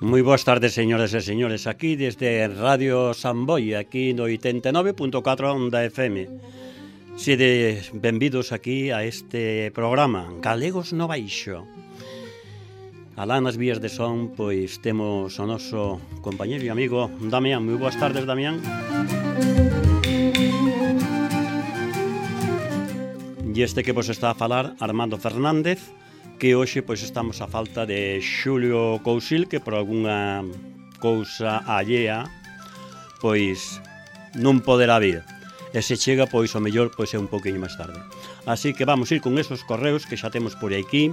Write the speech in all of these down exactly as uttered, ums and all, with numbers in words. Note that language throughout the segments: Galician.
Moi boas tardes, señoras e señores, aquí desde Radio Samboy, aquí no oitenta e nove punto catro Onda F M. Sede benvidos aquí a este programa Galegos no Baixo. Alá nas vías de son, pois temos o noso compañeiro e amigo Damián. Moi boas tardes, Damián. E este que vos está a falar, Armando Fernández, que hoxe pois estamos a falta de Xulio Cousil, que por algunha cousa allea pois non poderá vir. E se chega, pois o mellor pois é un pouquiño máis tarde. Así que vamos ir con esos correos que xa temos por aquí,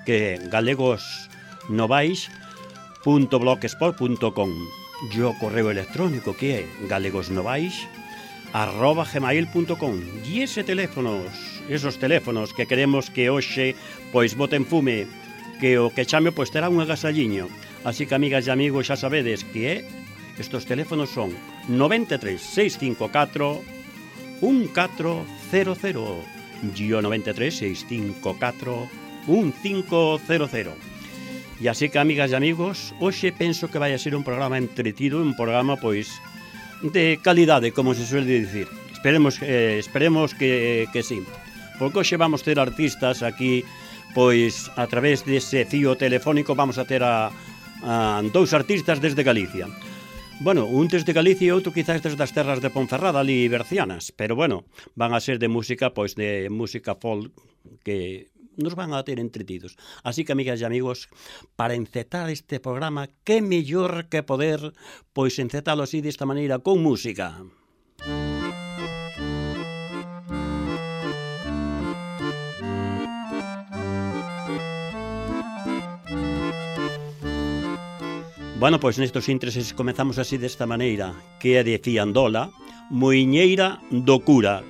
que galegosnovais punto blogspot punto com, e o correo electrónico que é galegosnovais arroba gmail punto com. E ese teléfonos, esos teléfonos que queremos que hoxe pois boten fume, que o que chame pois terá un agasalliño. Así que, amigas e amigos, xa sabedes que é, estos teléfonos son noventa e tres, seiscentos cincuenta e catro, un catro cero cero e o noventa e tres, seiscentos cincuenta e catro, un cinco cero cero. E así que, amigas e amigos, hoxe penso que vai a ser un programa entretido, un programa pois de calidade, como se suele dicir. Esperemos, eh, esperemos que, que sí. Porque hoxe vamos ter artistas aquí, pois a través dese fío telefónico vamos a ter a, a dous artistas desde Galicia. Bueno, un desde Galicia e outro quizás desde as terras de Ponferrada, ali bercianas, pero bueno, van a ser de música, pois de música folk, que nos van a ter entretidos. Así que, amigas e amigos, para encetar este programa, que mellor que poder pois encetalo así desta maneira con música. Bueno, pois nestos intereses comezamos así desta maneira, que é de Fiandola, Moiñeira do Cura.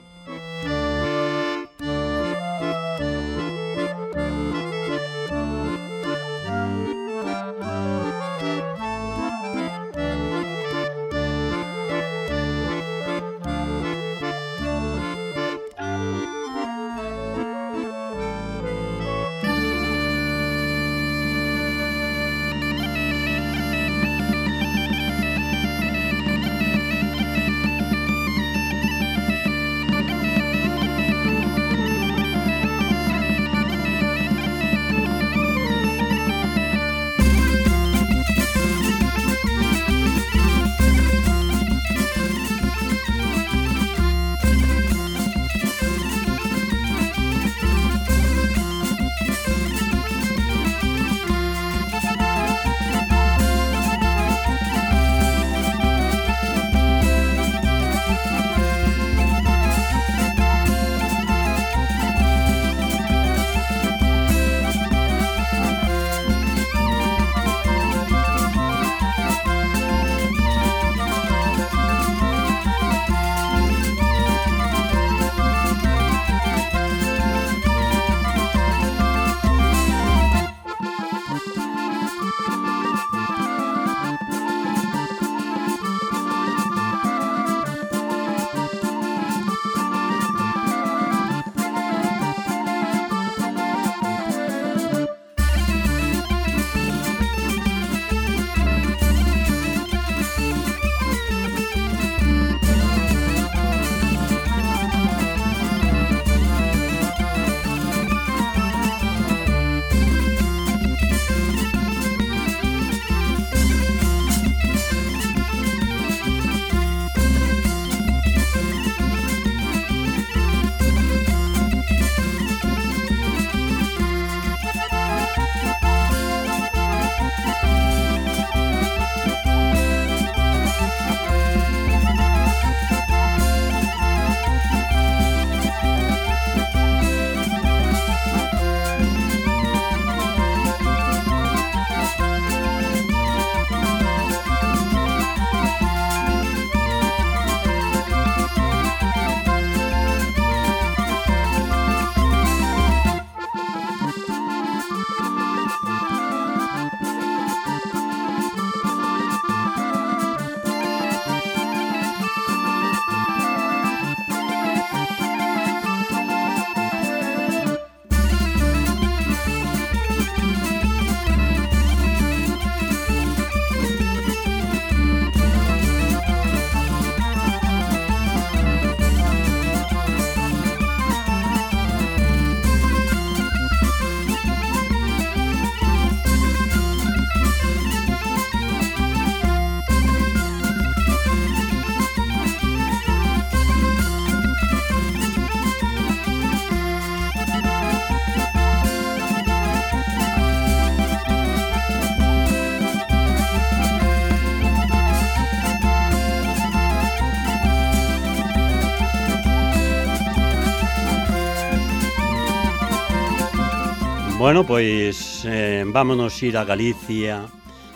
Bueno, pois eh, vámonos ir a Galicia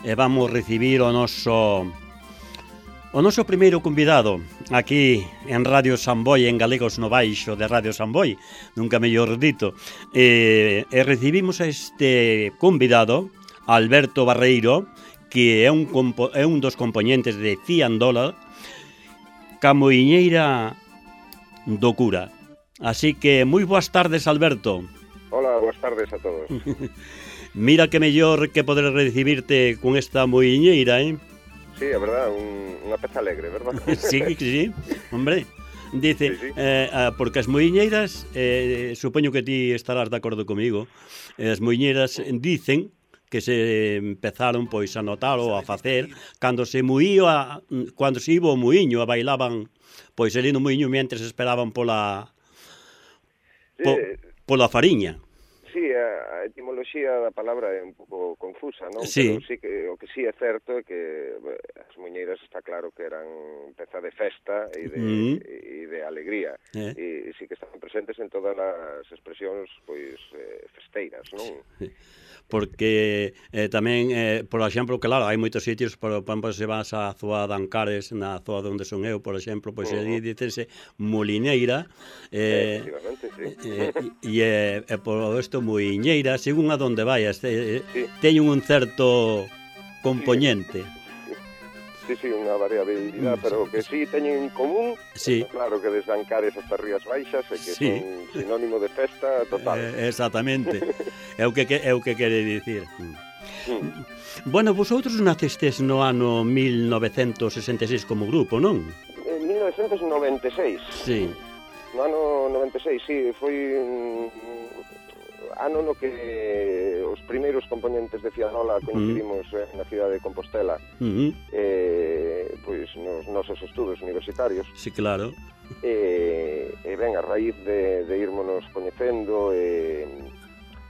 e vamos recibir o noso o noso primeiro convidado aquí en Radio Samboy, en Galegos no Baixo de Radio Samboy, nunca mellor dito. E, e recibimos a este convidado, Alberto Barreiro, que é un, compo, é un dos componentes de Ciandola, Camoiñeira do Cura. Así que moi boas tardes, Alberto. Hola, boas tardes a todos. Mira que mellor que poder recibirte con esta moiñeira, eh? Sí, é verdad, un, unha peza alegre, verdad? Sí, sí, hombre. Dice, sí, sí. Eh, porque as moiñeiras, eh, supoño que ti estarás de acordo comigo, as moiñeiras dicen que se empezaron pois a notar ou a facer cando se muía, cando se iba o muiño, a bailaban pois ali no muiño mentres esperaban pola po, sí. pola fariña. Sí, a etimoloxía da palabra é un pouco confusa, non? Sí. Pero sí que o que sí é certo é que as muñeiras está claro que eran peza de festa e de, mm. e de alegría. Eh. E sí que estaban presentes en todas as expresións pois eh, festeiras, non? Sí. Porque eh, tamén, eh, por exemplo, claro, hai moitos sitios, por exemplo, se vas á zoa de Ancares, na zoa onde son eu, por exemplo, pois uh -huh. dicense molineira, eh, sí. eh, e eh, eh, por isto muiñeira, según a donde vayas, eh, sí. teñen un certo componente. Sí. Sí, sí, unha variabilidade, pero que sí teñen en común, sí. Claro que desde Ancares hasta Rías Baixas, e que sí. son sinónimo de festa total. Eh, exactamente, é o que, é o que quere dicir. Mm. Bueno, vosotros nacestes no ano mil novecentos sesenta e seis como grupo, non? En mil novecentos noventa e seis. Sí. No ano noventa e seis, sí, foi un ano no que os primeiros componentes de Ciandola coincidimos uh -huh. na cidade de Compostela, uh -huh. eh, pois nos nosos estudos universitarios. Sí, claro. E, e ben, a raíz de, de irmonos coñecendo e,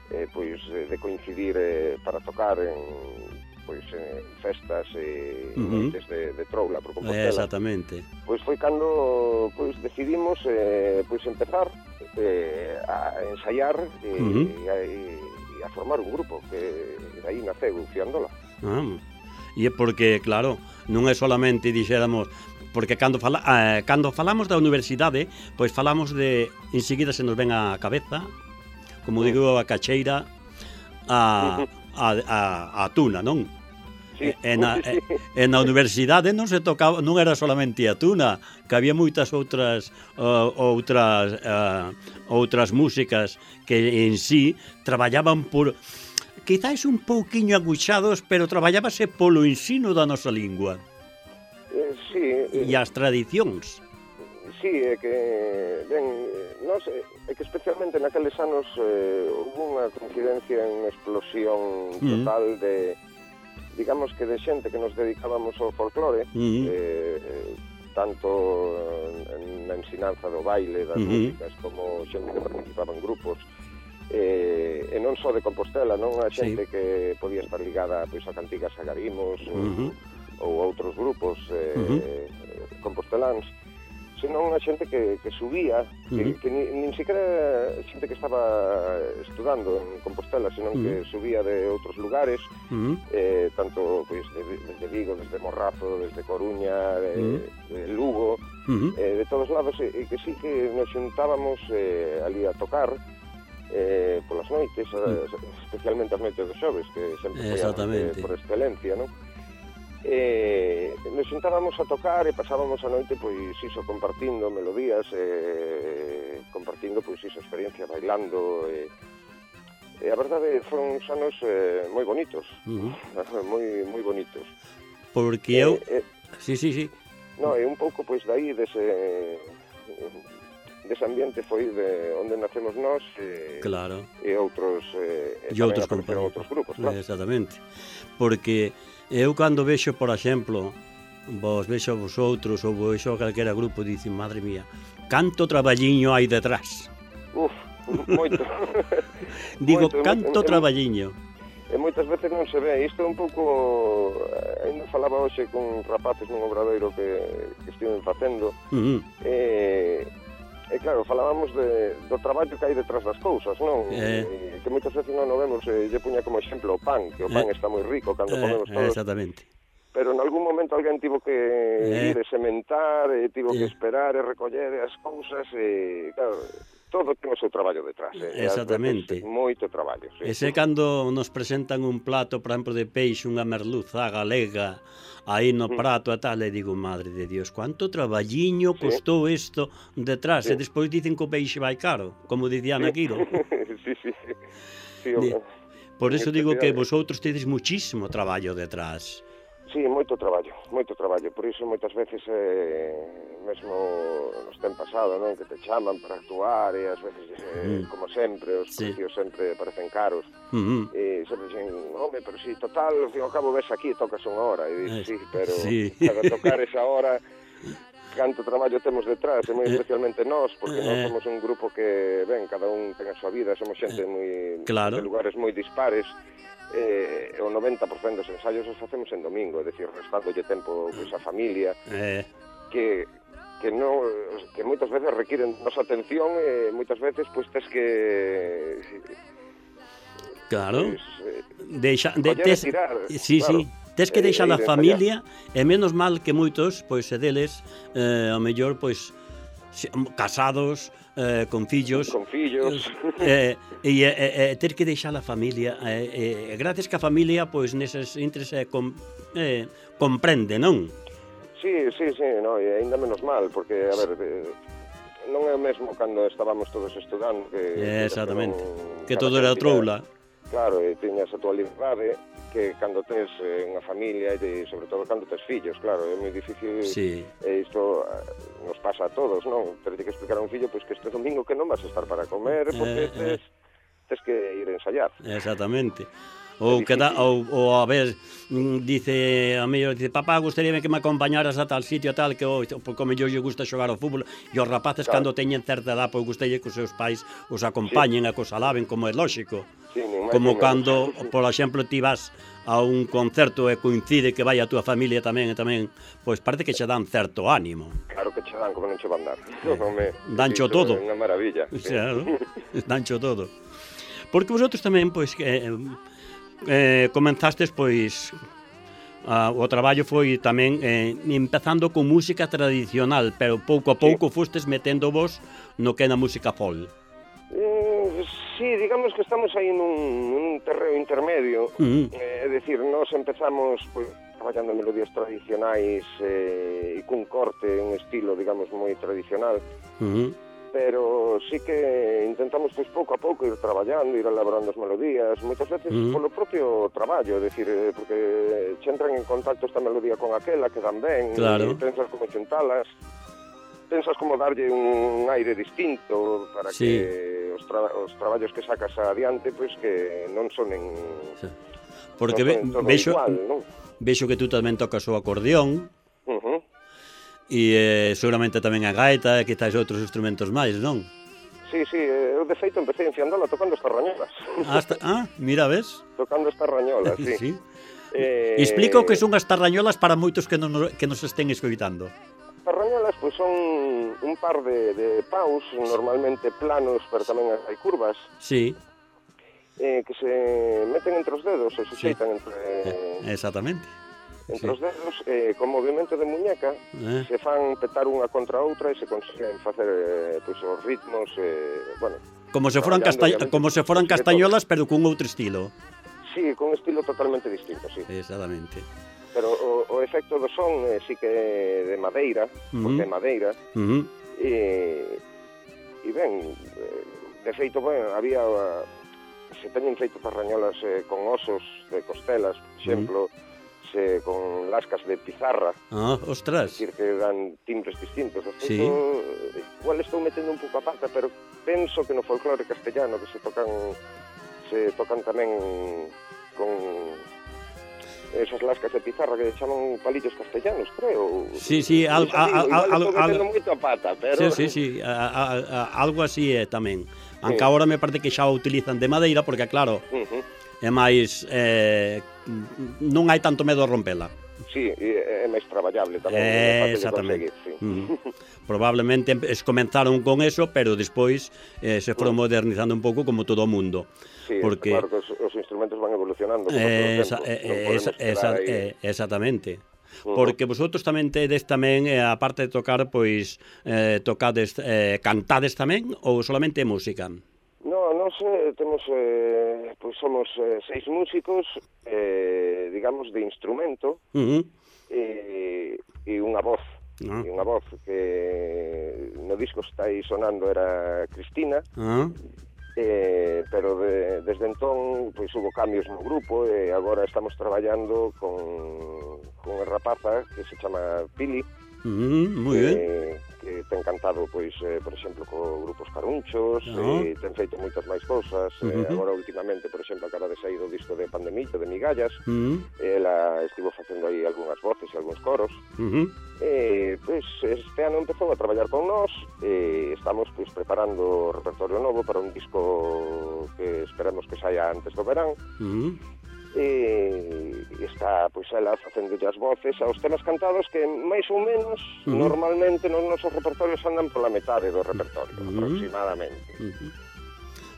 e pois de coincidir eh, para tocar en pois en festas e uh -huh. noites de, de troula por Compostela. Exactamente. Pois foi cando pois decidimos eh, pois empezar eh, a ensaiar e, uh -huh. e, a, e a formar un grupo que de aí naceu Ciandola. Ah, e é porque, claro, non é solamente, dixéramos, porque cando, fala, eh, cando falamos da universidade, pois falamos de, enseguida se nos ven a cabeza, como digo, a cacheira, a, a, a, a tuna, non? Sí, e, na, sí. e, e na universidade non se tocaba, non era solamente a tuna, que había moitas outras uh, outras uh, outras músicas que en sí traballaban por quizás un pouquiño aguchados, pero traballábase polo ensino da nosa lingua. Eh, sí, e eh, as tradicións. Sí, é que ben, nos, é que especialmente naqueles anos eh, hubo unha coincidencia, unha explosión total mm. de digamos que de xente que nos dedicábamos ao folclore, uh -huh. eh, tanto na ensinanza do baile, das uh -huh. músicas, como xente que participaba en grupos, eh, e non só de Compostela, non a xente sí. que podía estar ligada pois, a Cantigas Agarimos uh -huh. ou, ou outros grupos eh, uh -huh. composteláns, senón a xente que, que subía, uh -huh. que, que ni, nin siquiera xente que estaba estudando en Compostela, senón uh -huh. que subía de outros lugares, uh -huh. eh, tanto pois, de, desde Vigo, desde Morrazo, desde Coruña, de, uh -huh. de Lugo, uh -huh. eh, de todos lados, e, e que sí que nos xuntábamos eh, ali a tocar eh, polas noites, uh -huh. especialmente as noites dos xoves, que sempre foi eh, por excelencia, non? Eh, nos xuntábamos a tocar e pasábamos a noite pois iso compartindo melodías eh, compartindo pois iso experiencia bailando e, e a verdade foron uns anos eh, moi bonitos uh -huh. moi moi bonitos porque eu eh, eh, sí, sí, sí no, e un pouco pois daí dese dese ambiente foi de onde nacemos nós e, claro. e outros eh, e outros compañeros, outros grupos, claro. Exactamente, porque eu cando vexo, por exemplo, vos vexo a vosotros ou vexo a calquera grupo, dicen, madre mía, canto traballiño hai detrás. Uf, moito. Digo, moito, canto en, traballiño. E moitas veces non se ve, isto é un pouco, ainda falaba hoxe con rapaces nun obradoiro que, que estiven facendo, uh -huh. e E claro, falábamos de, do traballo que hai detrás das cousas, non? Eh. E, que moitas veces non o vemos, eh, lle puña como exemplo o pan, que o pan Eh. está moi rico cando Eh, comemos todos. exactamente. Pero en algún momento alguén tivo que Eh. ir e sementar, e tivo Eh. que esperar e recoller as cousas, e claro, todo ten o seu traballo detrás. Eh? Exactamente. Veces, moito traballo, sí. E se cando nos presentan un plato, por exemplo, de peixe, unha merluza galega, aí no prato e tal, e digo, madre de Dios, cuánto traballiño costou isto detrás, Sí. e despois dicen que o peixe vai caro, como dicía Ana Quiro. sí, sí, sí. sí Di- o- Por eso digo que especial- vosotros tedes muchísimo traballo detrás. Sí, moito traballo, moito traballo. Por iso moitas veces, eh, mesmo nos ten pasado, non? Que te chaman para actuar e ás veces, eh, Mm. como sempre, os Sí. precios sempre parecen caros. Uh -huh. E sempre dicen, home, pero si total, ao fin e ao cabo ves aquí e tocas unha hora. E dices, sí, pero Sí. para tocar esa hora, canto traballo temos detrás, e moi Eh, especialmente nós, porque eh, nós somos un grupo que, ben, cada un ten a súa vida, somos xente moi claro. de lugares moi dispares, eh, o noventa por cento dos ensaios os facemos en domingo, é dicir, restándolle tempo pois, a familia, Eh, que que no, que moitas veces requiren nosa atención e moitas veces pois tes que claro. pois, eh, Deixa, de, coller e tes, tirar, sí, claro. sí. Tes que E- deixar e a ir familia, e menos mal que moitos, pois, e deles, eh, ao mellor, pois, se- casados, eh, con fillos, con fillos. eh, e, e, e ter que deixar a familia, e, e, gracias que a familia, pois, neses intres, eh, com, eh, comprende, non? Sí, sí, sí, no, e ainda menos mal, porque, a ver, eh, non é o mesmo cando estábamos todos estudando, que... Eh, exactamente, non- que cada todo quen era tiña- troula. Claro, e tiñas a tua liberdade, que cando tes eh, unha familia e sobre todo cando tes fillos, claro, é moi difícil. Sí. E isto eh, nos pasa a todos, non? Ter que explicar a un fillo pois que este domingo que non vas a estar para comer porque Eh, tes, tes que ir a ensayar. Exactamente. Ou que da, ou, ou a ver, mm, dice a mellor, dice, papá, gustaríame que me acompañaras a tal sitio a tal, que o, porque o mellor lle gusta xogar ao fútbol, e os rapaces Claro. cando teñen certa edad, pois gustalle que os seus pais os acompañen sí. e que os alaben, como é lóxico. Sí, nin máis Como nin cando, menos. por exemplo, ti vas a un concerto e coincide que vai a túa familia tamén, e tamén, pois parece que che dan certo ánimo. Claro que che dan, como non che van dar. Home, Dancho iso todo. É unha maravilla. O Sí. sea, ¿no? Dancho todo. Porque vosotros tamén, pois, eh, eh, comenzastes, pois, a, o traballo foi tamén eh, empezando con música tradicional, pero pouco a pouco sí. fostes metendo vos no que é na música folk. Eh, sí, digamos que estamos aí nun, nun terreo intermedio. Uh -huh. eh, é dicir, nós empezamos pues, traballando en melodías tradicionais eh, e cun corte, un estilo, digamos, moi tradicional. Uh -huh. Pero sí que intentamos pois pouco a pouco ir traballando, ir elaborando as melodías, moitas veces Uh -huh. polo propio traballo, é dicir, eh, porque che entran en contacto esta melodía con aquela, que dan ben, Claro. e pensas como xuntalas, pensas como darlle un aire distinto para Sí. que os, tra os traballos que sacas adiante, pois que non sonen... Sí. Porque non ve, sonen todo vexo, igual, non? vexo que tú tamén tocas o acordeón, Uh -huh. e eh, seguramente tamén a gaita e quizás outros instrumentos máis, non? Sí, sí, eu de feito empecé enfiándola tocando estas rañolas. Hasta, ah, mira, ves? Tocando estas rañolas, sí. Sí. Eh... Explica o que son as tarrañolas para moitos que, non, que nos estén escoitando. As rañolas pois, son un par de, de paus, normalmente planos, pero tamén hai curvas, Sí. eh, que se meten entre os dedos, se suxeitan Sí. entre, Eh, exactamente. entre sí. os dedos, eh, con movimento de muñeca, Eh. se fan petar unha contra a outra e se consiguen facer eh, pois, os ritmos, eh, bueno... Como se foran, traballando, casta obviamente, como se foran de todo. castañolas, pero cun outro estilo. Sí, con un estilo totalmente distinto, sí. Exactamente. Pero o, o efecto do son eh, sí que é de madeira, Uh-huh. porque é madeira, Uh -huh. e, e ben, eh, de feito, bueno, había uh, se teñen feito parrañolas eh, con osos de costelas, por exemplo, uh -huh. se con lascas de pizarra, Ah, ostras. decir que dan timbres distintos. De Sí. feito, eh, igual estou metendo un pouco a pata, pero penso que no folclore castellano que se tocan se tocan tamén con esas lascas de pizarra que chaman palillos castellanos, creo. Sí, sí, al, Igual al, al, al, estou metendo moito a pata, pero... sí, sí, sí, a, a, a, algo así é tamén. Aunque Sí. agora me parece que xa o utilizan de madeira, porque claro, Uh -huh. é máis, eh, non hai tanto medo a rompela. sí, é máis traballable tamén. Eh, exactamente. Sí. Mm. Probablemente es comenzaron con eso, pero despois eh, se foron mm. modernizando un pouco como todo o mundo. Sí, porque claro que os, os instrumentos van evolucionando. Eh, esa, eh, esa, esa, eh, exactamente. Uh-huh. Porque vosotros tamén tedes tamén, eh, a parte de tocar, pois, eh, tocades, eh, cantades tamén, ou solamente música? No, nos eh, temos, eh, pois somos eh, seis músicos, eh, digamos, de instrumento, uh-huh. e, e unha voz, uh-huh. e unha voz que no disco está aí sonando era Cristina, uh-huh. Eh, pero de, desde entón pois hubo cambios no grupo e agora estamos traballando con, con unha rapaza que se chama Pili, mm, moi que, ben. que ten cantado, pois, eh, por exemplo, co grupos Carunchos, no. e ten feito moitas máis cousas. Uh-huh. eh, agora últimamente, por exemplo, acaba de sair o disco de Pandemillo, de Migallas, uh-huh. ela estivo facendo aí algunhas voces e algúns coros. Uh-huh. E, pois, este ano empezou a traballar con nós e estamos, pois, preparando o repertorio novo para un disco que esperemos que saia antes do verán. Uh-huh. E está, pois, ela facendo as voces aos temas cantados que, máis ou menos, uh-huh. normalmente nos nosos repertorios andan pola metade do repertorio, uh-huh. aproximadamente. Uh-huh.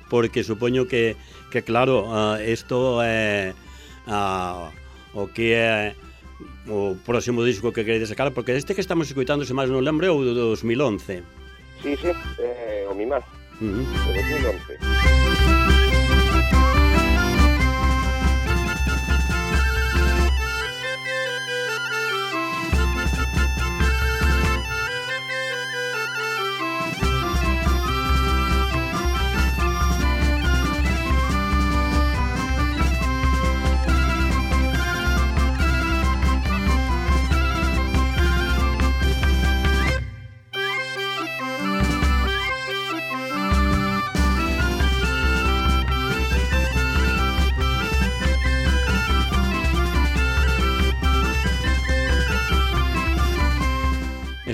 Porque supoño que, que claro, uh, isto é uh, o que é o próximo disco que queredes sacar, porque este que estamos escoitando, se máis non lembro, é o do dos mil once. Sí, sí, eh, o Mimá, uh-huh. o dos mil once.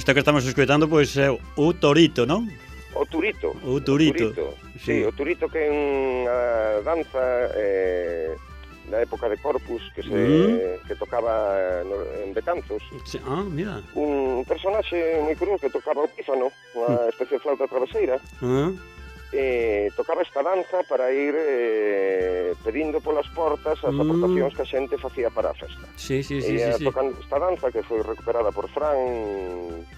Isto que estamos escoitando, pois, é o Torito, non? O Turito. O Turito. O turito. Sí. sí, o Turito que é unha danza eh, na época de Corpus que se mm. que tocaba no, en Betanzos. Sí. Ah, mira. Un personaxe moi curioso que tocaba o pífano, unha especie de flauta traveseira. Ah. Eh, tocaba esta danza para ir eh, pedindo polas portas as mm. aportacións que a xente facía para a festa. Sí, sí, sí, e sí, sí. tocando esta danza que foi recuperada por Fran,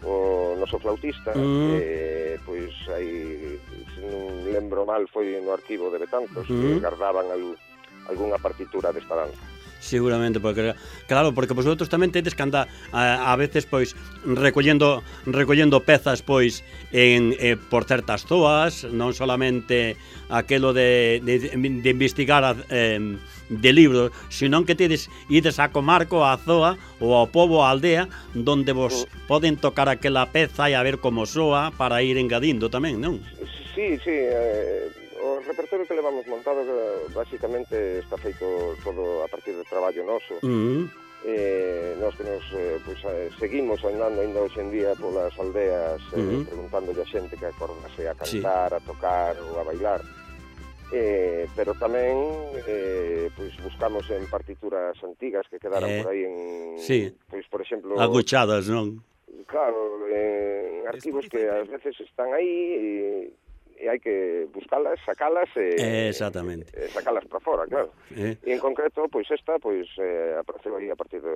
o noso flautista, mm. eh, pois aí, se non lembro mal, foi no arquivo de Betanzos, mm. que guardaban al, algunha partitura desta danza. Seguramente, porque claro, porque vosotros tamén tedes que andar a, a veces pois recollendo recollendo pezas pois en eh, por certas zoas, non solamente aquelo de, de, de investigar a, eh, de libros, senón que tedes ides a comarco, a zoa ou ao pobo, a aldea donde vos mm. poden tocar aquela peza e a ver como soa para ir engadindo tamén, non? Sí, sí, eh... o repertorio que levamos montado basicamente está feito todo a partir do traballo noso. Uh-huh. eh, nós que nos eh, pues, eh, seguimos andando ainda hoxe en día polas aldeas, eh, uh-huh. preguntándolle a xente que acordase a cantar, sí. a tocar ou a bailar. Eh, pero tamén eh, pues, buscamos en partituras antigas que quedaran eh, por aí en, sí. pois, por exemplo, aguchadas, non? Claro, en arquivos que ás veces están aí e e hai que buscalas, sacalas e, exactamente. e sacalas para fora, claro. Eh. E en concreto, pois esta, pois eh, apareceu aí a partir do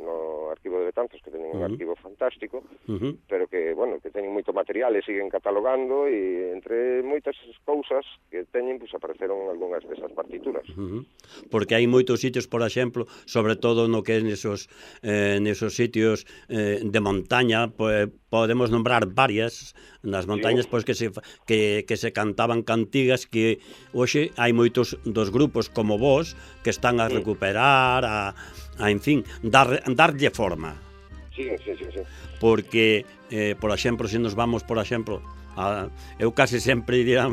no arquivo de Betanzos, que teñen un uh-huh. arquivo fantástico, uh-huh. pero que, bueno, que teñen moito material e siguen catalogando e entre moitas cousas que teñen, pois apareceron algunhas desas partituras. Uh-huh. Porque hai moitos sitios, por exemplo, sobre todo no que é nesos eh, nesos sitios eh, de montaña, pues, podemos nombrar varias nas montañas, sí. pois que se que, que se cantaban cantigas que hoxe hai moitos dos grupos como vos que están a recuperar, a, a en fin, dar, darlle forma. Sí, sí, sí, sí. Porque, eh, por exemplo, se nos vamos, por exemplo, a, eu case sempre diría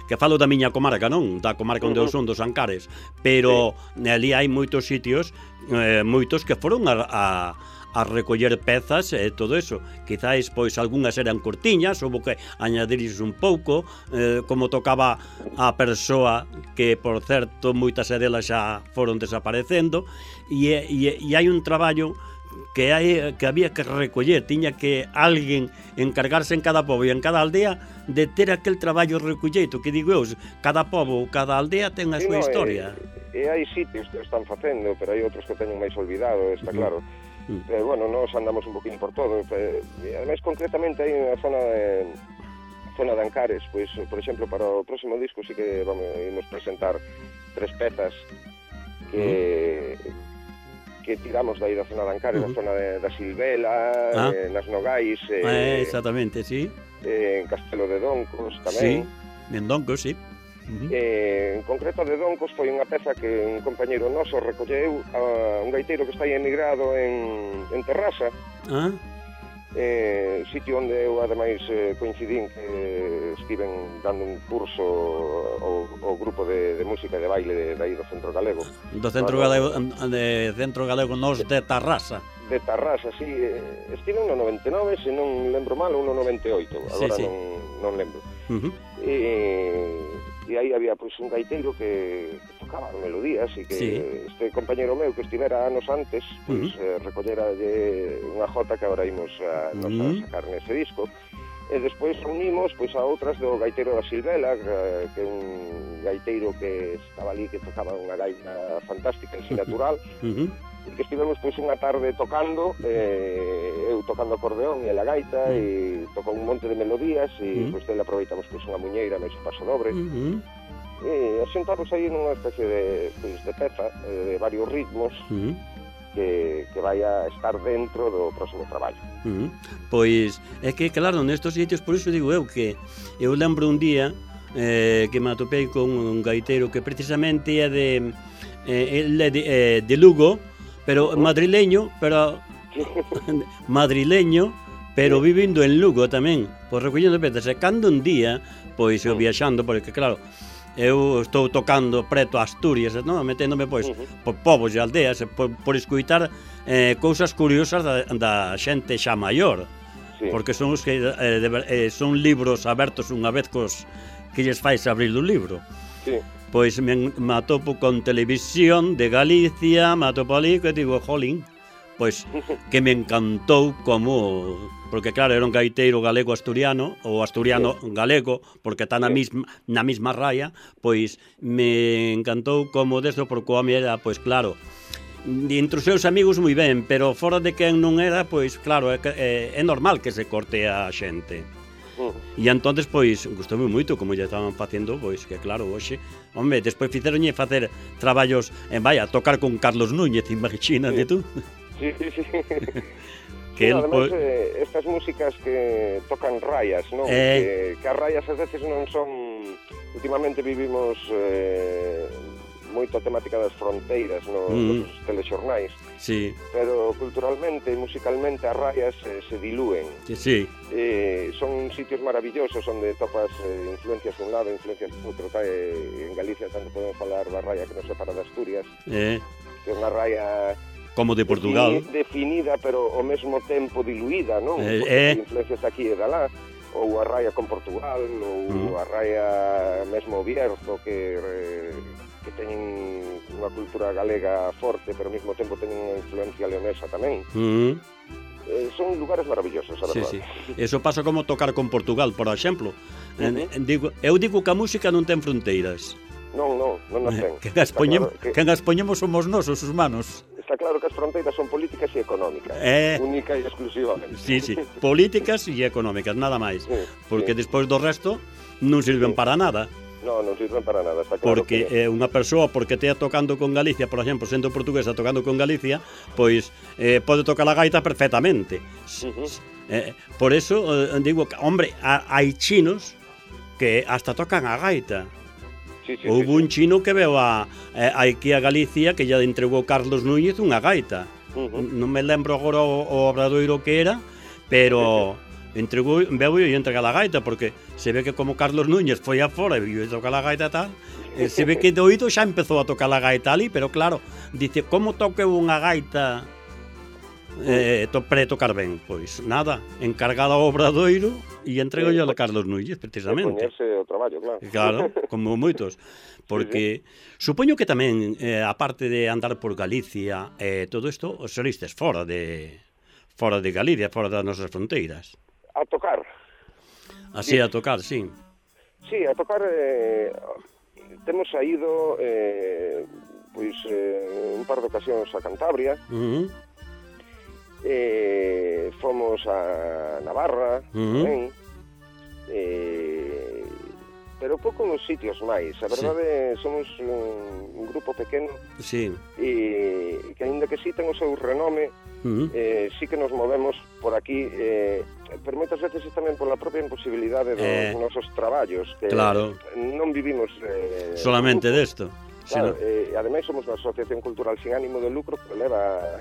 que falo da miña comarca, non? Da comarca onde uh-huh. eu son, dos Ancares, pero sí. ali hai moitos sitios, eh, moitos que foron a, a a recoller pezas e todo eso. Quizáis, pois, algunhas eran cortiñas, houve que añadirles un pouco, eh, como tocaba a persoa, que, por certo, moitas delas xa foron desaparecendo, e, e, e hai un traballo que hai que había que recoller, tiña que alguén encargarse en cada pobo e en cada aldea de ter aquel traballo recolleito, que digo eu, cada pobo, cada aldea ten a súa no, historia. E, e hai sitios que están facendo, pero hai outros que teñen máis olvidado, está claro. Mm. Pero, bueno, nos andamos un poquinho por todo. E, ademais, concretamente, hai unha zona de, zona de Ancares, pois, por exemplo, para o próximo disco sí que vamos a presentar tres pezas que... Mm. que tiramos dai da zona de Ancares, uh -huh. da zona de, da Silvela, ah. eh, nas Nogais, eh, eh, exactamente, sí. Eh, en Castelo de Doncos tamén. Sí, en Doncos, sí. Uh -huh. eh, en concreto de Doncos foi unha peza que un compañeiro noso recolleu a un gaiteiro que está aí emigrado en, en Terrasa. Ah. Eh, sitio onde eu ademais eh, coincidín que estiven dando un curso ao, ao grupo de, de música e de baile de, de aí do Centro Galego do Centro no, Galego de Centro Galego nos de Tarrasa de Tarrasa, sí, eh, estiven no noventa e nove, se non lembro mal, ou no noventa e oito, agora sí, sí. non, non lembro. Uh -huh. e, e aí había pois un gaiteiro que, que tocaba melodías e que sí. Este compañeiro meu que estivera anos antes pois uh -huh. eh, recollera unha jota que agora imos a, uh -huh. a sacar nese disco, e despois unimos pois a outras do gaiteiro da Silvela, que é un gaiteiro que estaba ali, que tocaba unha gaita fantástica en si natural. Uh -huh. E que estivemos pois unha tarde tocando, eh, eu tocando acordeón e a gaita, uh -huh. e tocou un monte de melodías, e uh -huh. pois dele aproveitamos pois unha muñeira máis un paso dobre, uh -huh. e asentamos aí nunha especie de, pois, de peza, eh, de varios ritmos, uh -huh. que, que vai a estar dentro do próximo traballo. Uh -huh. Pois é que, claro, nestos sitios, por iso digo eu que eu lembro un día eh, que me atopei con un gaiteiro que precisamente é de, eh, é de, eh, de Lugo, pero madrileño, pero madrileño, pero vivindo en Lugo tamén, pois recollendo pezas. E cando un día, pois eu viaxando, porque claro, eu estou tocando preto a Asturias, non? Meténdome pois por povos e aldeas, por, por escuitar eh, cousas curiosas da, da xente xa maior, sí. Porque son os que eh, de, eh, son libros abertos unha vez cos que lles fais abrir o libro. Sí. Pois me, me atopo con Televisión de Galicia, me atopo ali, que digo, jolín, pois que me encantou como... Porque claro, era un gaiteiro galego-asturiano, ou asturiano-galego, porque está na mesma, na mesma raya, pois me encantou como desto, porque o home era, pois claro, entre os seus amigos moi ben, pero fora de quen non era, pois claro, é, é, é normal que se corte a xente. E entonces, pois, gustoume moito como ya estaban facendo, pois, que claro, hoxe, home, despois fixeronlle facer traballos, en vaya, tocar con Carlos Núñez, imagínate sí. Tú. Sí, sí, sí. Que sí, el, además, pues... eh, estas músicas que tocan rayas, non? Eh... Que, que as rayas ás veces non son... Últimamente vivimos eh, moito a temática das fronteiras no, mm. nos telexornais. Sí. Pero culturalmente e musicalmente as rayas eh, se dilúen. Sí, sí. Eh, son sitios maravillosos onde topas eh, influencias de un lado, influencias de outro. Eh, en Galicia tanto podemos falar da raya que nos separa de Asturias, eh. que é unha raya... Como de Portugal. Defini, definida, pero ao mesmo tempo diluída, non? Eh, Porque eh. influencias aquí e da lá. Ou a raya con Portugal, ou mm. a raya mesmo Bierzo, que... Eh, que teñen unha cultura galega forte, pero ao mesmo tempo teñen unha influencia leonesa tamén. Mm. Eh, son lugares maravillosos, a verdade. Sí, sí. Eso pasa como tocar con Portugal, por exemplo. Uh -huh. en, digo, eu digo que a música non ten fronteiras. Non, non, non as ten. Que as poñemos, claro que... que as poñemos somos nós, os humanos. Está claro que as fronteiras son políticas e económicas, eh... única e exclusivamente. Sí, sí, políticas e económicas, nada máis. Sí, porque sí. Despois do resto non sirven sí. para nada. No, non sirven para nada, está claro. Porque que... eh, unha persoa, porque tea tocando con Galicia, por exemplo, sendo portuguesa tocando con Galicia, pois eh, pode tocar a gaita perfectamente. Uh -huh. eh, por eso, eh, digo, que, hombre, hai chinos que hasta tocan a gaita. Sí, sí, Houve sí, un sí. chino que veo a, eh, aquí a Galicia que ya entregou Carlos Núñez unha gaita. Uh -huh. Non me lembro agora o, o obradoiro que era, pero... Sí, sí. Entregou, veo e entrega a gaita, porque se ve que como Carlos Núñez foi afora e viu tocar a gaita tal, eh, se ve que de oído xa empezou a tocar a gaita ali, pero claro, dice, como toque unha gaita eh, to, pre-tocar ben, pois nada, encargada ao Obradoiro e entrego yo a Carlos Núñez, precisamente. E poñerse o traballo, claro. Claro, como moitos, porque sí, sí. Supoño que tamén, eh, aparte de andar por Galicia, eh, todo isto, os solistes fora de fora de Galicia, fora das nosas fronteiras. A tocar. Así, a tocar, sí. Sí, a tocar, eh, temos saído, eh, pois, eh, un par de ocasións a Cantabria, uh-huh. eh, fomos a Navarra, uh-huh. tamén, eh, pero pouco nos sitios máis. A verdade, sí, somos un, un grupo pequeno, sí, e que, aínda que sí ten o seu renome, uh-huh. eh, sí que nos movemos por aquí, eh, pero moitas veces tamén pola propia imposibilidade dos eh, nosos traballos, que claro, non vivimos eh, solamente desto. Claro, eh, ademais somos unha asociación cultural sin ánimo de lucro que leva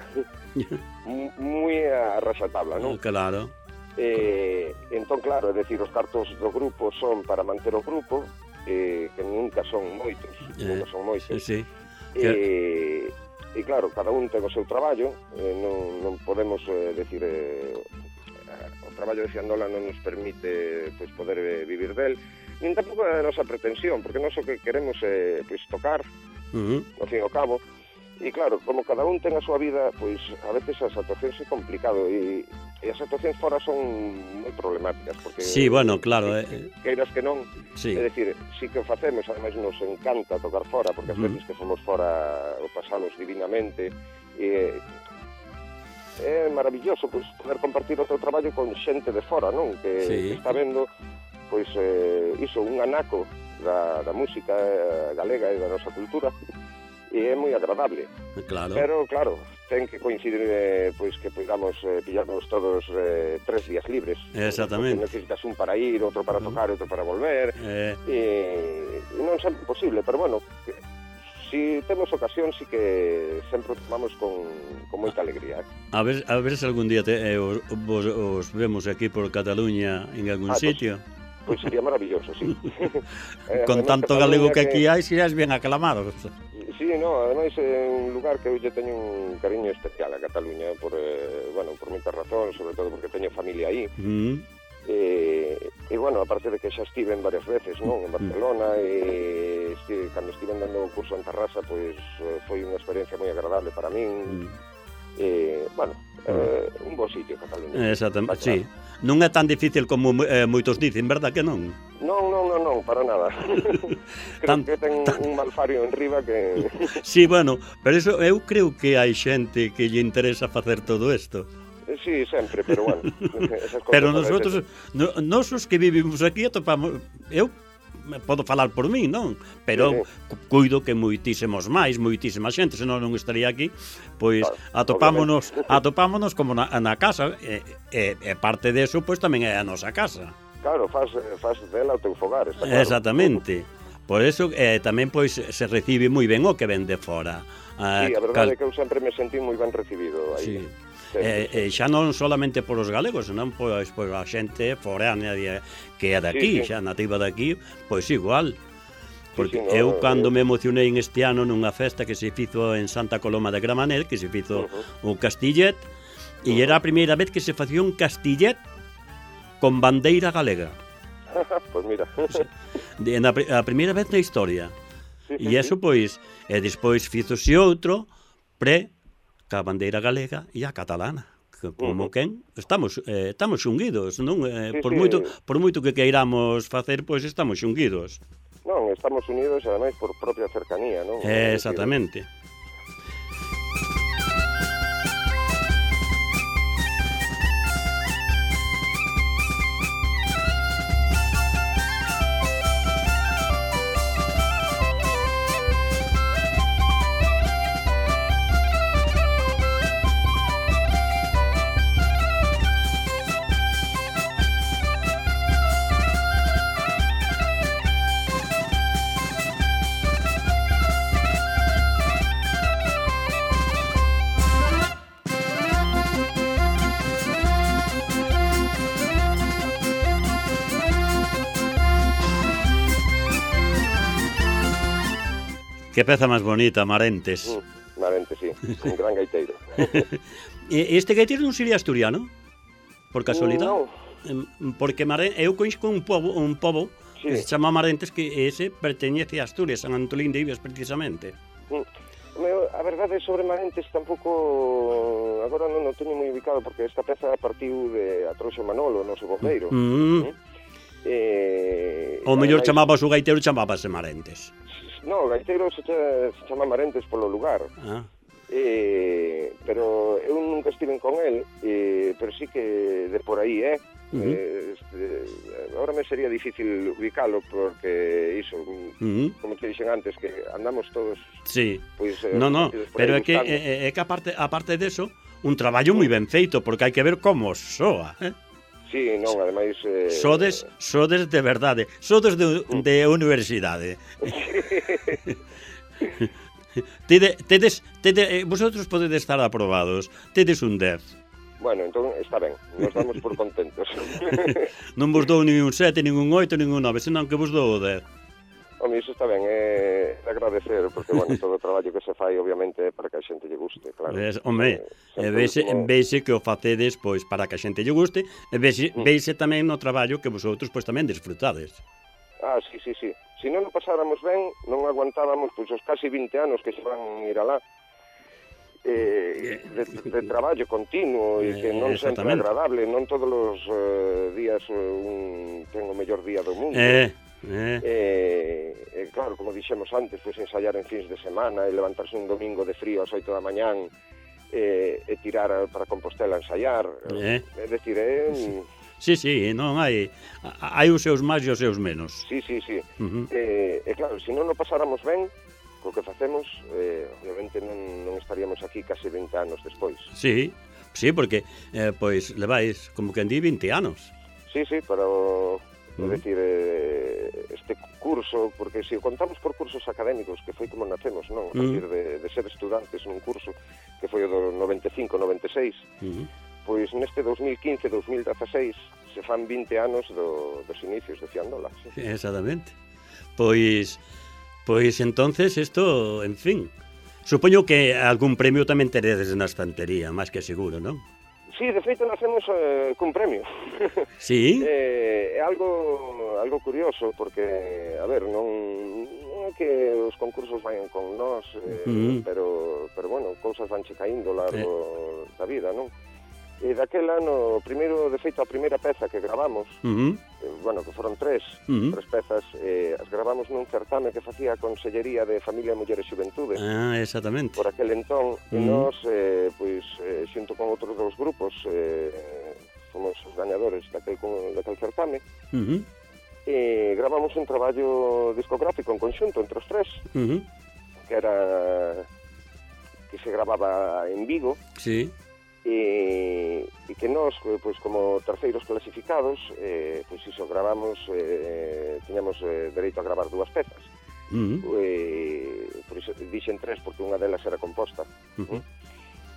moi a raxatabla, non? Claro. Eh, entón, claro, é dicir, os cartos do grupo son para manter o grupo, eh, que nunca son moitos, eh, nunca son moitos. Sí, sí. Eh, e claro, cada un ten o seu traballo, eh, non, non podemos eh, decir... Eh, o traballo de Fiandola non nos permite pois, poder eh, vivir del, nin tampouco é a nosa pretensión, porque nós o que queremos é pois, tocar, uh-huh. ao fin e ao cabo, e claro, como cada un ten a súa vida, pois a veces as actuacións é complicado, e, e as actuacións fora son moi problemáticas, porque... Sí, bueno, claro, que, eh... queiras que non, sí, é dicir, sí que o facemos, ademais nos encanta tocar fora, porque as uh-huh. veces que fomos fora o pasamos divinamente, e... é maravilloso pois, poder compartir o teu traballo con xente de fora, non? Que, sí, que está vendo pois, eh, iso, un anaco da, da música galega e da nosa cultura, e é moi agradable. Claro. Pero, claro, ten que coincidir eh, pois que podamos eh, pillarnos todos eh, tres días libres. Exactamente. Porque necesitas un para ir, outro para tocar, outro para volver, eh... e, e non sempre posible, pero bueno... Que, si temos ocasión, si que sempre tomamos con, con moita alegría. Eh? A ver, a ver se algún día te, eh, os, vos, os vemos aquí por Cataluña en algún ah, sitio. Pois pues, pues sería maravilloso, sí. eh, con tanto galego que aquí hai, serías bien aclamados. Sí, no, ademais é un lugar que eu lle teño un cariño especial a Cataluña, por, eh, bueno, por moitas razóns, sobre todo porque teño familia aí. Mm. E, e, bueno, aparte de que xa estive en varias veces, non? En Barcelona, e estive, cando estive dando o curso en Tarrasa, pois foi unha experiencia moi agradable para min. Mm. E, bueno, eh, un bo sitio, Cataluña. Exactamente, sí. Non é tan difícil como eh, moitos dicen, verdad que non? Non, non, non, non, para nada. Creo tan, que ten tan... un malfario en riba que... Sí, bueno, pero eso, eu creo que hai xente que lle interesa facer todo isto. Sí, sempre, pero bueno, esas cosas. Pero nosotros, no, nosos que vivimos aquí atopamos, eu podo falar por mí, non? Pero sí, cuido que moitísimos máis, moitísima xente, senón non estaría aquí, pois claro, atopámonos, atopámonos como na, na casa, e, e, e parte deso, pois tamén é a nosa casa. Claro, faz, faz dela o teu fogar, está claro. Exactamente. Por eso eh, tamén pois se recibe moi ben o que ven de fora. Ah, sí, a verdade cal... é que eu sempre me sentí moi ben recibido aí. Sí. Eh, eh, xa non solamente por os galegos, senón pois, pois a xente foránea que é daqui, sí, sí, xa nativa daqui, pois igual. Porque sí, sí, no, eu cando eh... me emocionei en este ano nunha festa que se fizo en Santa Coloma de Gramenet, que se fizo uh-huh. un castillet, e uh-huh. era a primeira vez que se facía un castillet con bandeira galega. Pois mira. De, na, a primeira vez na historia. Sí, e sí, eso, sí. pois, e despois fízose outro pre ca bandeira galega e a catalana, que como uh-huh. quen estamos eh, estamos xunguidos, non? Eh, sí, por sí. moito por moito que queiramos facer, pois estamos xunguidos. Non, estamos unidos ademais por propia cercanía, non? Eh, exactamente. Que peza máis bonita, Marentes. Mm. Marente, sí, un gran gaiteiro. E este gaiteiro non sería asturiano? Por casualidade? Non. Porque Mare... eu coñezco un pobo, un pobo sí. que se chama Marentes, que ese perteñece a Asturias, San Antolín de Ibes, precisamente. Mm. A verdade sobre Marentes tampouco agora non o teño moi ubicado, porque esta peza partiu de Atroxo Manolo, o noso bombeiro. Mm. Mm. Eh, o mellor ademais... chamabas o gaiteiro, chamábase Marentes. No, o gaiteiro se, se chama Marentes polo lugar. Ah. Eh, pero eu nunca estiven con el, eh, pero sí que de por aí, eh? Uh-huh. eh este, ahora me sería difícil ubicalo porque iso, uh-huh. como te dixen antes, que andamos todos. Sí. Pois, eh, no, no, pero é que é, é que aparte aparte deso, un traballo moi ben feito, porque hai que ver como soa, eh? Sí, non, ademais eh... sodes, sodes de verdade, sodes de, de universidade. Tede, tedes, tede, vosotros podedes estar aprobados. Tedes un dez. Bueno, entón está ben, nos damos por contentos. Non vos dou nin un sete, nin un oito, nin un nove, senón que vos dou o dez. Home, iso está ben, é de agradecer, porque, bueno, todo o traballo que se fai, obviamente, é para que a xente lle guste, claro. Ves, home, eh, veise, como... veise que o facedes, pois, para que a xente lle guste, e veise, mm. veise tamén no traballo que vosotros, pois, tamén disfrutades. Ah, sí, sí, sí. Se non o pasáramos ben, non aguantábamos, pois, os casi vinte anos que se van ir alá. Eh, de, de traballo continuo e que non sempre é agradable, non todos os uh, días un, ten o mellor día do mundo. Eh... Eh. Eh, eh, claro, como dixemos antes, pois ensaiar en fins de semana e levantarse un domingo de frío ás oito da mañán eh, e tirar para Compostela a ensaiar. Eh. É dicir, é... Eh, sí, sí, non hai hai os seus máis e os seus menos. Sí, sí, sí. Uh-huh. eh, e claro, se non o pasáramos ben co que facemos, eh, obviamente non, non estaríamos aquí case vinte anos despois. Sí, sí, porque eh, pois levais como que andí vinte anos. Sí, sí, pero... É dicir, eh, este curso, porque se o contamos por cursos académicos, que foi como nacemos, non? A partir de, de ser estudantes nun curso que foi o do noventa e cinco noventa e seis, uh-huh. pois neste dos mil quince dos mil dezaseis se fan vinte anos do, dos inicios de Fiandola. Sí. Sí, exactamente. Pois, pois entonces isto, en fin, supoño que algún premio tamén teredes na estantería, máis que seguro, non? Sí, de feito nacemos eh, cun premio. Sí? eh, é algo algo curioso, porque, a ver, non, non é que os concursos vayan con nós, eh, uh-huh. pero, pero, bueno, cousas vanche caíndo largo eh. da vida, non? E daquel ano, primeiro, de feito, a primeira peza que gravamos, uh-huh. eh, bueno, que foron tres, uh-huh. tres pezas, eh, as gravamos nun certame que facía a Consellería de Familia, Muller e Xuventude. Ah, exactamente. Por aquel entón, uh-huh. e nós, eh, pois, eh, xunto con outros dous grupos, eh, fomos os gañadores daquel, daquel certame, uh-huh. e gravamos un traballo discográfico en conxunto entre os tres, uh-huh. que era... que se gravaba en Vigo. Sí. E, e que nós, pois, como terceiros clasificados, eh, pois iso, gravamos, eh, tiñamos eh, dereito a gravar dúas pezas. Uh-huh. Eh, por iso dixen tres, porque unha delas era composta. Uh-huh.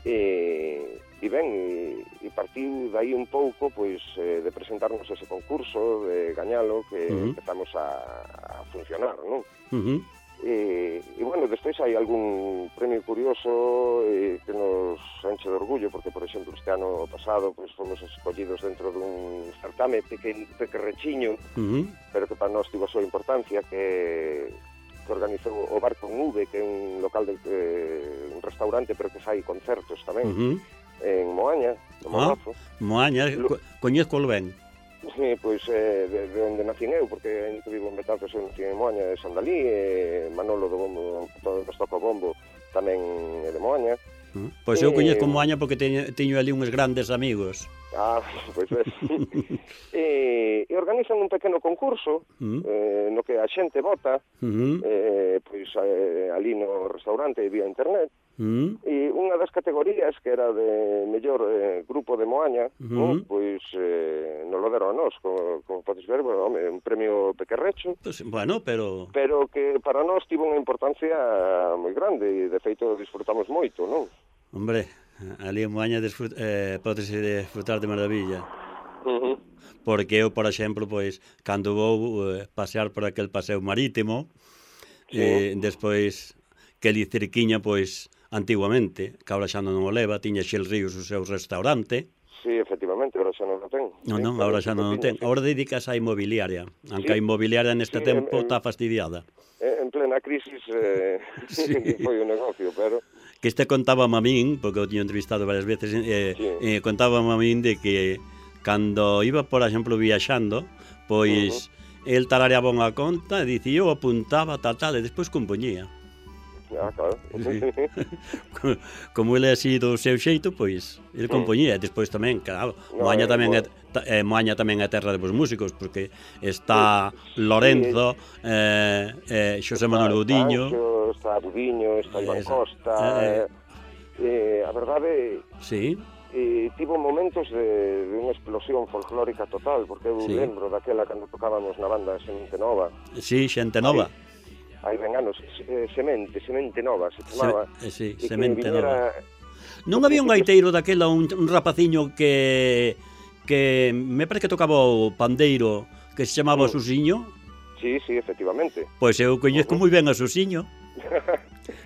E, e ben, e, e partiu dai un pouco, pois, eh, de presentarnos ese concurso, de gañalo, que uh-huh. empezamos a, a funcionar, non? Uh-huh. E, e, bueno, despois hai algún premio curioso eh, que nos enche de orgullo, porque, por exemplo, este ano pasado pues, fomos escollidos dentro dun certame peque, pequerrechiño, uh-huh. pero que para nós tivo a súa importancia, que, que organizou o Bar con V, que é un local de eh, un restaurante, pero que fai concertos tamén, uh-huh. en Moaña, no Moazo. Ah, Moaña, Lo... coñezco ben. Sí, pois eh, de, de onde nacín eu, porque ainda que vivo en Betanzos, eu nací en Moaña, de Sandalí, e Manolo do Bombo, todo que toca o bombo, tamén é de Moaña. Uh, pois eu coñezco Moaña porque teño, teño ali uns grandes amigos. Ah, pois ves. e, e organizan un pequeno concurso, uh-huh. eh, no que a xente vota, uh-huh. eh, pois eh, ali no restaurante vía internet, uh-huh. e unha das categorías que era de mellor eh, grupo de Moaña, uh-huh. no? Pois eh, nos lo deron a nós, como, como podes ver, bueno, home, un premio pequerrecho, pues, bueno, pero... pero que para nós tivo unha importancia moi grande, e de feito disfrutamos moito, non? Hombre, ali en Moaña disfrut, eh, podese disfrutar de maravilla. Uh-huh. Porque eu, por exemplo, pois, cando vou eh, pasear por aquel paseo marítimo, sí. eh, despois que ali cerquiña, pois, antiguamente, que agora xa non o leva, tiña Xel Ríos o seu restaurante. Sí, efectivamente, agora xa non o ten. Non, sí, non, agora xa non o ten. Agora dedicas á inmobiliaria, aunque sí, a inmobiliaria neste sí, tempo en, está fastidiada. En plena crisis eh, sí. foi o negocio, pero... Que este contábame a min, porque eu tiño entrevistado varias veces, eh, sí. eh, contábame a min de que cando iba, por exemplo, viaxando, pois... Uh-huh. El tarareaba unha conta e dicía, eu apuntaba tal, tal, e despois compoñía. Ah, claro. Sí. Como ele así do seu xeito, pois, ele compoñía. E despois tamén, claro, no, Moaña tamén é, é, Moaña tamén é terra de vos músicos, porque está Lorenzo, sí. eh, eh, Xosé Manuel Budiño. Está Budiño, está Iván Costa... Eh, eh, a verdade... Sí. E tivo momentos de, de unha explosión folclórica total, porque eu sí. lembro daquela cando tocábamos na banda Semente Nova. Sí, Xente Nova. Hai ben anos, Semente, Semente Nova, se chamaba. Se, sí, Semente Nova. Non había un gaiteiro daquela, un, un rapaciño que que me parece que tocaba o pandeiro, que se chamaba mm. Susiño? Sí, sí, efectivamente. Pois eu coñezco uh-huh. moi ben a Susiño.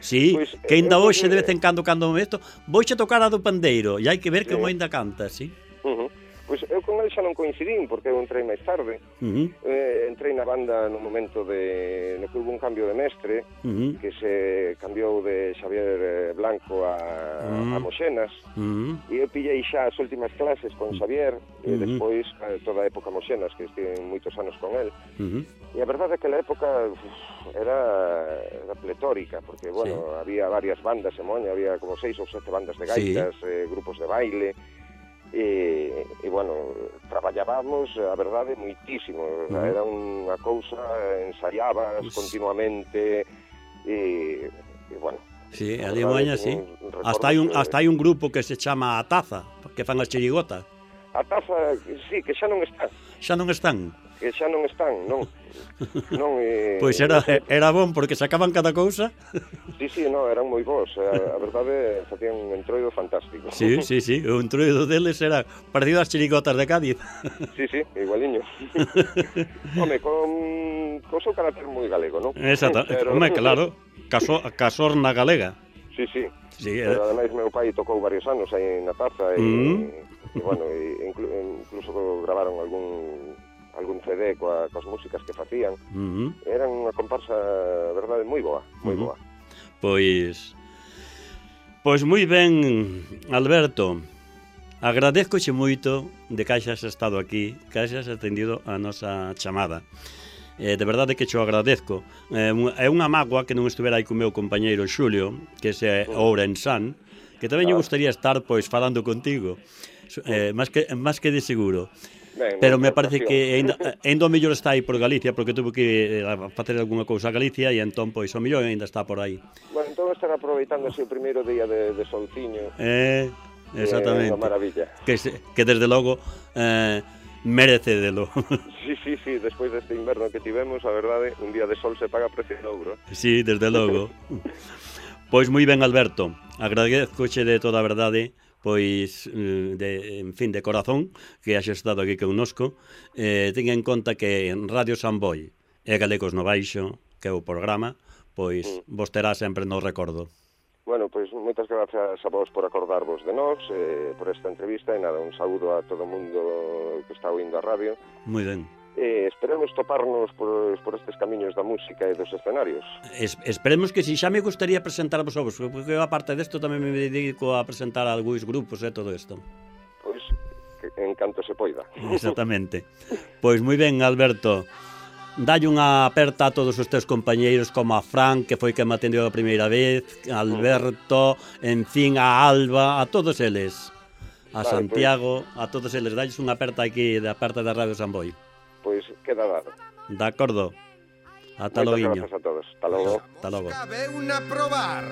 Sí, pues, que ainda hoxe de vez en cando cando me isto, voixe tocar a do pandeiro e hai que ver sí. como ainda canta, sí. Uh-huh. Pois eu con ele xa non coincidín porque eu entrei máis tarde. Uh-huh. eh, entrei na banda no momento de no que hubo un cambio de mestre, uh-huh. que se cambiou de Xavier Blanco a, uh-huh. a Moxenas. Uh-huh. E eu pillei xa as últimas clases con Xavier uh-huh. e despois toda a época Moxenas, que estive moitos anos con el. Uh-huh. E a verdade é que a época uf, era, era pletórica, porque, bueno, sí. había varias bandas en Moña, había como seis ou sete bandas de gaitas, sí. eh, grupos de baile, e, e, bueno, traballábamos, a verdade, moitísimo. Uh-huh. Era unha cousa, ensaiabas pues... continuamente, e, e bueno... Sí, ali en Moña, sí. Hasta hai, un, que... hasta hai un grupo que se chama A Taza, que fan as chirigotas. A Taza, sí, que xa non está. Xa non están? Que xa non están, non. non eh, pois era, era bon, porque sacaban cada cousa. Sí, sí, no, eran moi bons. A, a verdade, facían un entroido fantástico. Sí, sí, sí, o entroido deles era parecido ás chirigotas de Cádiz. Sí, sí, igualiño. Home, con, con seu carácter moi galego, non? Exacto, pero... home, claro, caso, casorna galega. Sí, sí, sí pero eh... ademais meu pai tocou varios anos aí na Taza e, mm. e bueno, e inclu, incluso gravaron algún algún C D coa, coas músicas que facían. Uh-huh. Eran unha comparsa, verdade, moi boa, moi uh-huh. boa. Pois Pois moi ben, Alberto. Agradezcoche moito de que hayas estado aquí, que hayas atendido a nosa chamada. Eh, de verdade que cho agradezco. Eh, é unha mágoa que non estuvera aí co meu compañeiro Xulio, que é Oura en San, que tamén me gustaría estar pois falando contigo. Eh, máis que máis que de seguro. Ben, pero me parece que ainda, ainda o mellor está aí por Galicia, porque tuvo que facer algunha cousa a Galicia e entón, pois, o mellor ainda está por aí. Bueno, entón están aproveitando ese primeiro día de, de solciño. Eh, exactamente. É unha maravilla. Que, que desde logo eh, merece delo. Sí, sí, sí, despois deste inverno que tivemos, a verdade, un día de sol se paga precio de ouro. Sí, desde logo. Pois moi ben, Alberto, agradezcoche de toda a verdade, pois, de, en fin, de corazón, que haxe estado aquí connosco. Eh, ten en conta que en Radio Samboy e Galegos no Baixo, que é o programa, pois mm. vos terá sempre no recordo. Bueno, pois moitas gracias a vos por acordarvos de nós, eh, por esta entrevista, e nada, un saúdo a todo o mundo que está oindo a radio. Moi ben. Eh, esperemos toparnos por, por estes camiños da música e dos escenarios. Es, esperemos que si, xa me gustaría presentarvos a vos, porque eu, aparte desto, tamén me dedico a presentar a algúns grupos e todo isto. Pois, que, en canto se poida. Exactamente. Pois moi ben, Alberto, dalle unha aperta a todos os teus compañeiros, como a Fran, que foi que me atendeu a primeira vez, a Alberto, en fin, a Alba, a todos eles, a vale, Santiago, pues... a todos eles, dalles unha aperta aquí da parte da Radio Samboy. Pois queda dado. De acordo. Ata logo. Moitas grazas a todos. Hasta logo. Hasta logo. Cabe unha probar.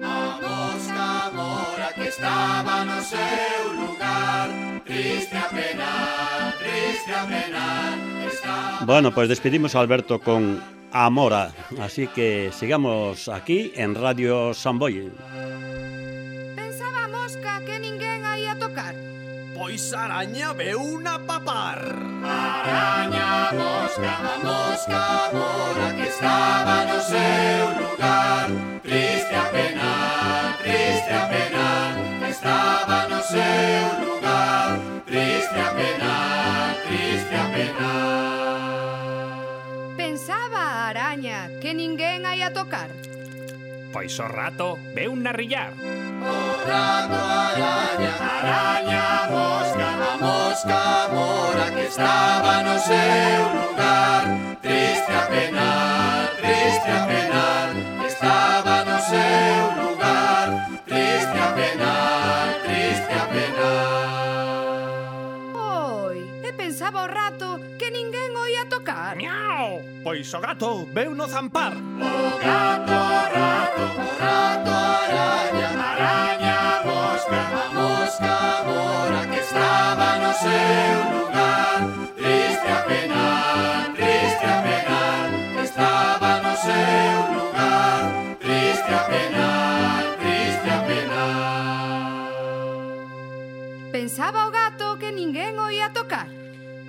A mosca mora que estaba no seu lugar, triste a penar, triste a penar. Estaba... Bueno, pois pues despedimos a Alberto con Amora, así que sigamos aquí en Radio Samboy. Pensaba a mosca que ninguén aí a tocar. Pois araña veu unha papar. Araña, mosca, a mosca mora que estaba no seu lugar, triste a penar, triste penar. Pensaba a araña que ninguén hai a tocar. Pois o rato veu narrillar. O rato araña, araña a mosca, a mosca mora que estaba no seu lugar. Triste a penar, triste a penar, que estaba no seu lugar. Triste a penar, triste a penar. Oi, e pensaba o rato que ninguén o ia tocar. Miau! Pois o gato veu no zampar. O gato, o rato, o rato araña, araña a mosca, a mosca mora que estaba no seu lugar. Triste a penar, triste a penar, que estaba no seu lugar. Triste a penar, triste a penar. Pensaba o gato que ninguén o ia tocar.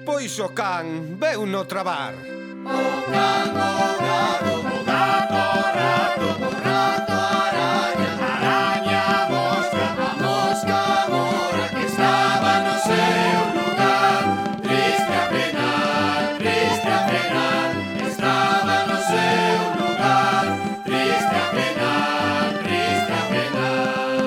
Pois o can veu no trabar. O can, o gato, o gato, o rato, o rato araña, araña a mosca, a mosca mora que estaba no seu lugar. Triste a penar, triste a penar, que estaba no seu lugar. Triste a penar, triste a penar.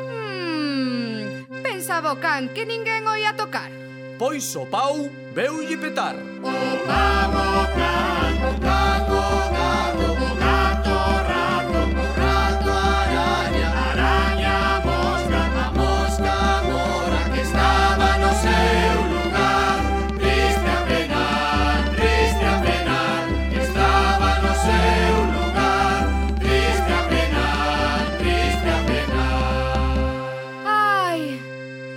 Hmm, pensaba o can que ninguén o ia tocar. Pois o pau veulle petar. O can, o can, o can, o gato, o gato, o rato, o rato araña, araña a mosca, a mosca mora que estaba no seu lugar. Triste a penar, triste a penar, que estaba no seu lugar. Triste a penar, triste a penar. Ai,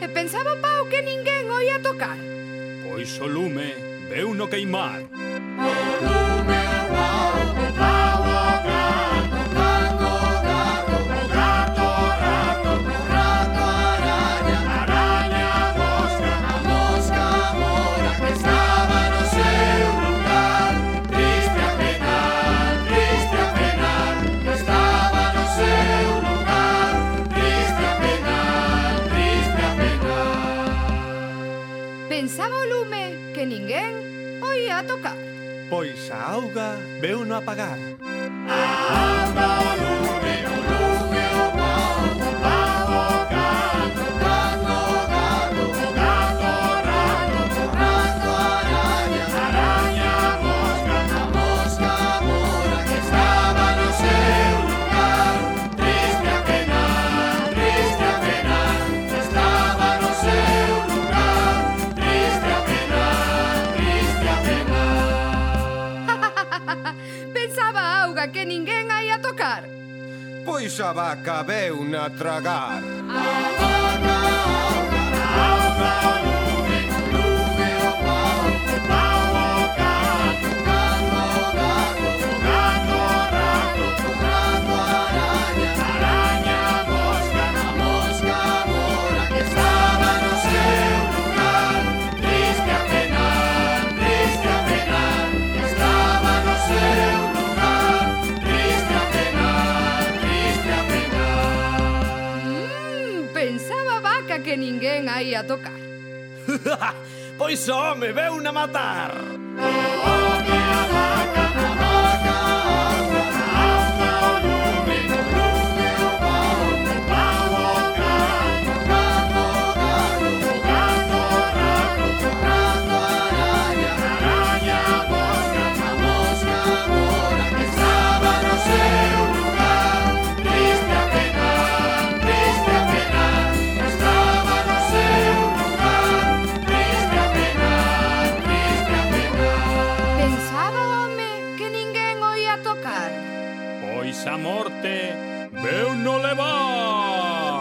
e pensaba o pau que ninguén o ia tocar. Pois o lume veu no queimar. O lume, o pau, o pau, o gato, o can, o gato, o gato, o rato, o rato araña, araña a mosca, a mosca mora que estaba no seu lugar. Triste a penar, triste a penar, que estaba no seu lugar. Triste a penar, triste a penar. Pensaba o lume que ninguén o ia tocar. Pois a auga veu no apagar. A auga, o lume, o lume, o pau, o pau, o gato, o can, o gato, o gato, o rato, o rato araña, araña a mosca, a mosca mora que estaba no seu lugar. Triste a penar, triste a penar, que estaba no seu lugar. Triste a penar, triste a penar. Pensaba a auga que ninguén a ia tocar. Pois a vaca veu na tragar. A vaca, auga, auga, o lume, o lume, o pau, o pau, o gato, o can, o gato, o gato, o rato, o rato araña, araña a mosca, a mosca mora que estaba no seu lugar. Triste a penar, triste a penar, que estaba no seu lugar. Triste a penar, triste a penar. Mm, pensaba a vaca que ninguén a ia tocar. Pois o home veu na matar. O home, a vaca, a vaca, auga, auga, o lume, o lume, o pau, o pau, o gato, o gato, o gato, o gato, o rato, o rato araña, araña a mosca, a mosca mora que estaba no seu lugar. Triste a penar, triste a penar, que estaba no seu lugar. Triste a penar, triste a penar. Pensaba o home que ninguén o ia tocar. Pois a morte veu no levar.